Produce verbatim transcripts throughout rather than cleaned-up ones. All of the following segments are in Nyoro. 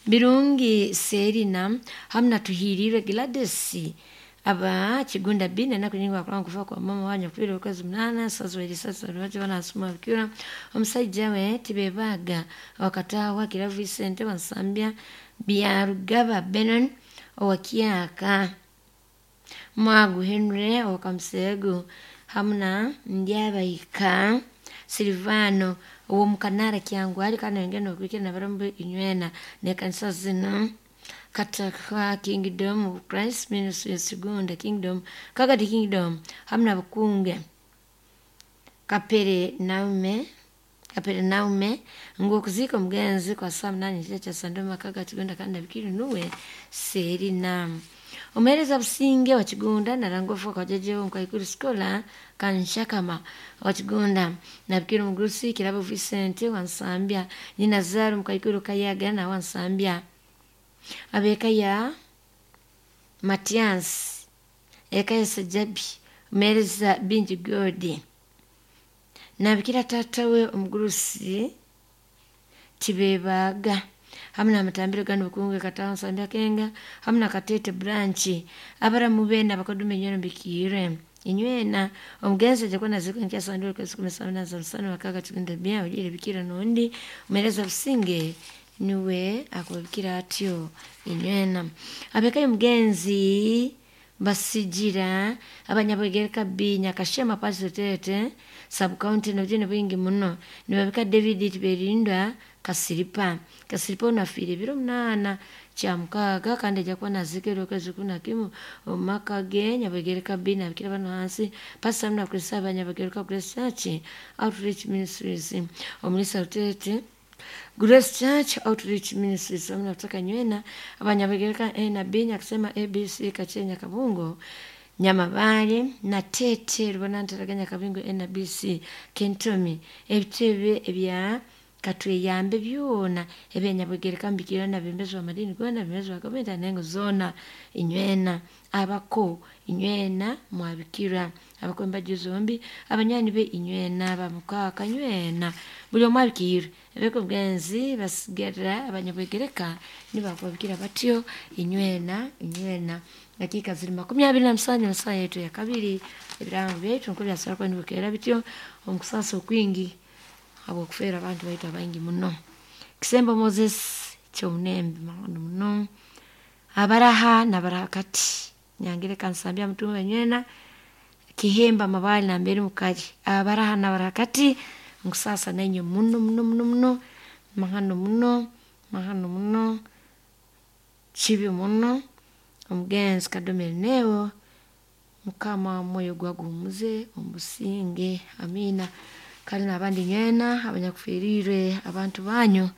Birungi Serina hamu na Tuhirirwe Gladys aba Kigunda B nenaku nyingi bakulanga kufa kwa mama wanyu kufiirwa okwezi munaana sazweri sasa lwaki banasoma bikira omusajja we tibebaaga wakataawa Kiravu Vicente Wansambya Byarugaba Benon owakyaka Mwagu Henry owakamuseegu hamu na Ndyabaika Silvano ow'omukanara Kyangwali kandi nayongera n'okwikira nabaramu inywena n'ekanisa zinu Kataka Kingdom of Christ Ministries Kigunda Kingdom Kagadi Kingdom hamu na Bukunge Kapere Naume Kapere Naume ngu okuziika omugenzi kwa saa munaana ekiro kya Sande makaga Kigunda kandi nabikiri nuwe Serina omuheereza Businge wa Kigunda narangwa ofuuka wajjajewo Nkaikuru Scholar Kanshakama wa Kigunda nabikiri omugurusi Kirabo Vincent wa Nsambya nyina Zaru Mukaikuru Kayaga nawe wa Nsambya ab'eka ya Matias eka ya Sejabi omuheereza Bingi God nabikira taata we omugurusi Tibebaaga hamu n'amatambiro ganu Bukunge Katawa Nsambya Kenga hamu na Katete Branch abaramu beena abakodume inywena mbikiirwe inywena omugenzi ajja kuba naziikwa enkya Sande okwezi kumi na za musana makaga Kigunda B ogiire bikira n'ondi omuheereza Businge nuwe akubabikira atyo inywena ab'eka y'omugenzi Basigira abanyabwegereka B Nyakashema Pasitete sub county n'obujune bwingi muno nibabika David Tiberindwa Kasiripa Kasiripa ono afiire ebiro munaana kyamukaaga kandi ajja kuba naziikirwa okwezi kumi na kimu omu maka ge Nyabwegereka B nabikira bano hansi Pastor hamu n'abakristaayo abanyabwegereka Grace Church Outreach Ministries omulisa Rutete Grace Church Outreach Ministries hamu na kutaka nywena abanyabwegereka A na B Nyakusema A B C Kachenya Kabungo Nyamabale na Tete Rubonantaraganya Kabingo N B C Kentomi ebitebe ebya katweyambe byona ebyenyabwegereka mbikira nabembezi b'amadini goona bembezi ba gavumenti anengo zoona inywena abako inywena mwabikira abako embaju zombi abanywani be inywena bamukaaka nywena buli omu abikiirwe ebeka omugenzi basigara abanyabwegereka nibakubabikira batyo inywena inywena. Dakiika ziri makumi abiri na musanju mu saaha yetu ya kabiri. Ebirango byaitu nko byasobora kuba nibikeera bityo omu kusaasa okwingi habw'okufeerwa abantu baitu abaingi muno. Kisembo Moses Kyomunembe mahano muno abaraha nabaraha kati Nyangereka Nsambya Mutumba nywena Kihemba Mabaale nambere mukali abaraha nabaraha kati nkusaasa nainywe muno muno muno muno mahano muno mahano muno kibi muno omugenzi Kadoma Erineo Mukama omwoyo gwe aguhumuze omu businge, amiina. Kale n'abandi nywena abanyakufiiriirwe abantu banyu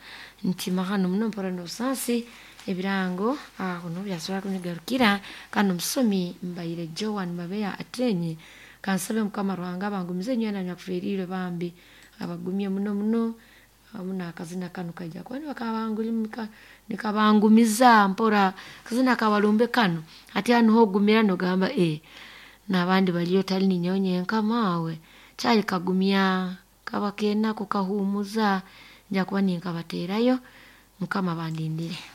nti mahano muno mpora n'obusaasi. Ebirango aho nuho byasobora kubigarukira kandi omusomi mbaire Joan Mabeya Atenyi. Kansabe Mukama Ruhanga abangumize nywena abanyakufiiriirwe bambi abagumye muno muno hamu n'akazina kanu kaija kuba nikabangumiza mpora akazina kabalumbe kanu hati hanu ogumira nogamba ee n'abandi baliyo tali ninyowe nyenka maawe kyali kagumya kaba k'enaku kahuumuza nja kuba ninkabateerayo Mukama abandindire.